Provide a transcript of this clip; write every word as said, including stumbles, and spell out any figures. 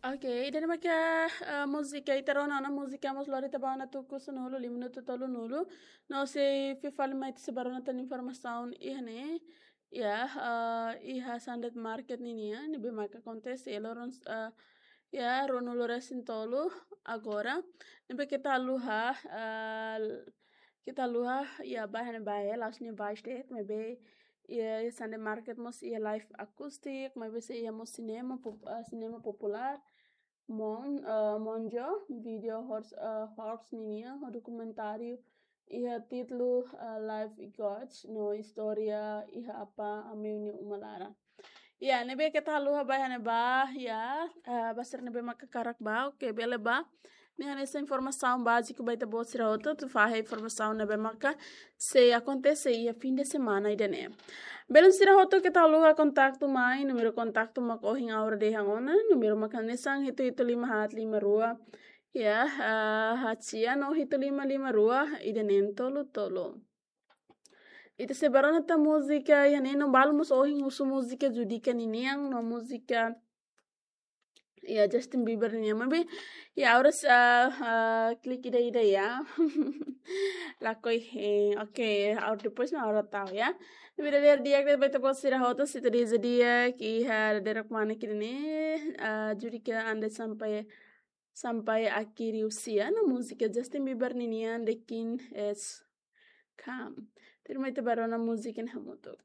Ok, ida-ne'e maka, ah, múzika, ita rona ona múzika mós lori ita ba ona tuku sanulu, lima minutu tolunulu. No sei fila fali mai ita sei bá rona tan informasaun iha ne'e. Ya, ah, iha Sunday Market ninian, ne'ebé maka akontese loron, ah, ya, ruanulu resin tolu agora. Ne'ebé keta haluha, ah, keta haluha, ya, ba iha ne'ebá, ya, la'ós ne'e ba state, maibé, ya, iha Sunday Market mós iha live akustik, maibé sei iha mós sinema pop-, ah, sinema populár, Mon, ah, Monjo, video horse, ah, horse ninian, ho dokumentáriu iha títulu, ah, Life Gods, no istória iha apá Ameu nia uma laran. Ya, ne'ebé keta haluha ba iha ne'ebá, ya, ah, ba sira ne'ebé maka hakarak bá, oke, bele bá. Ne'e hanesan informasaun báziku ba ita-boot sira hotu, atu fahe informasaun ne'ebé maka sei akontese iha fim de semana ida-ne'e. Belun sira hotu keta haluha kontaktu mai, númeru kontaktu mak ohin ha'u hato'o ona, númeru mak hanesan hitu hitu lima haat lima rua, ya, ah, haat sia no hitu lima lima rua, ida neen tolu tolu. Ita sei bá rona tan múzika, ya, ne'e no balu mós ohin husu múzika Judika ninian, no múzika, ya, Justin Bieber ninian, maibé, ya, ha'u rasa, ah, ah, klik ida-ida, ya. Lakohi, eh, oke, ha'u depois mak ha'u tau, ya. Ne'ebé di'ak, di'ak ba ita-boot sira hotu, se ita dehan di'ak, iha dadeer-saan ida-ne'e, ah, Judika Ande sampai, sampai akhir usia, no múzika Justin Bieber ninian, The King Is Come. Tuirmai ita bá rona múzika ne'e hamutuk.